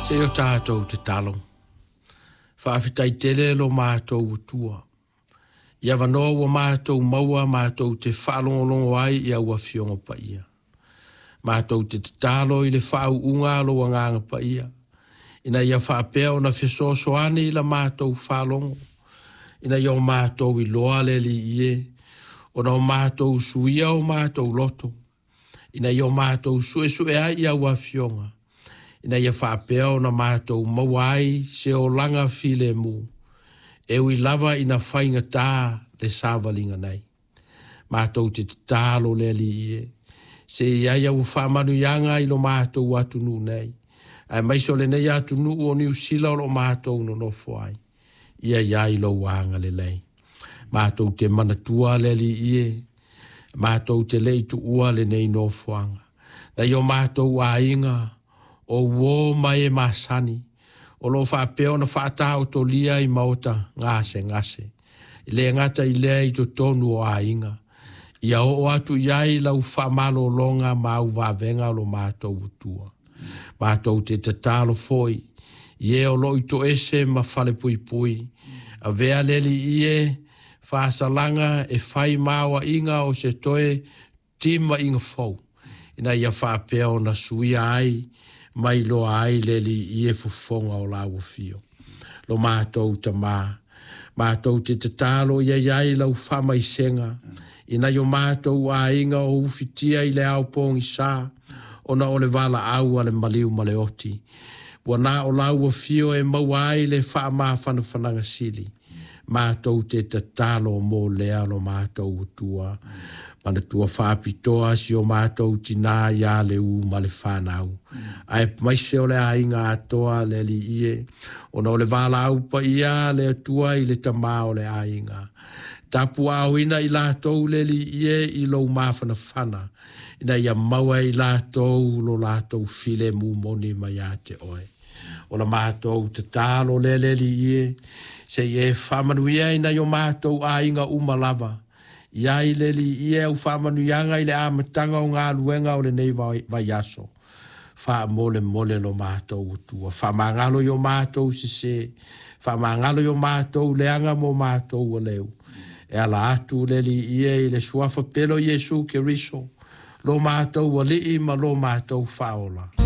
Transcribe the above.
Se i o tatou tatalo. Faafetai tele lo matou Atua. I avanoa ua matou maua matou te faalogologo ai i au Afioga Paia. Matou te tatalo i le faauuga a lou Agaga Paia, ina ia faapea ona fesoasoani i la matou faalogo, ina ia o matou iloa le Alii e, ona o matou suia o matou loto, ina ia o matou suesue ai i au Afioga, ina ia faapea ona matou maua ai se olaga filemu, e ui lava ina faigata le savaliga nei. Matou te tatalo le Alii e, se i ai au faamanuiaga i lo matou atunuu nei, aemaise o lenei atunuu o Niu Sila o lo o matou nonofo ai, ia i ai lou agalelei. Matou te manatua le Alii e, matou te le i tuua lenei nofoaga. Nai o matou aiga, o uō ma e masani, o lo o faapea ona faataotolia i maota gasegase, e le gata i lea i totonu o aiga, ia oo atu i ai lau faamalologa ma au vavega o lo matou Atua. Matou te tatalo foi i e o lo o i toese ma falepuipui, avea le Alii e faasalaga e fai ma aoaiga o se toe timaiga fou, ina ia faapea ona suia ai ma iloa ai le Alii e fofoga o lau afio. Lo matou Tamā, matou te tatalo ia i ai lau faamaisega, ina ia o matou aiga o ufitia i le ao pogisa, ona o le valaau a le maliu ma le oti. Ua na o lau afio e maua ai le faamafanafanaga sili. Matou te tatalo mo lea lo matou Atua. Manatua faapitoa si o matou tinā ia Leū ma le fanau. Aemaise o le aiga atoa le Alii e, ona o le valaau paia a le Atua i le tamā o le aiga. Tapuaaoina i latou le Alii e i lou mafanafana, ina ia maua e i latou lo latou filemu moni mai ia te oe. O la matou tatalo lea le Alii e, se i e faamanuia i nai o matou aiga uma lava. I ai le Alii e au faamanuiaga i le amataga o galuega o lenei vaiaso. Faamolemole lo matou Atua, faamagalo i o matou sesē, faamagalo i o matou leaga mo matou aleu. E ala atu le Alii e i le suafa pele o Iesu Keriso, lo matou Alii ma lo matou Faaola.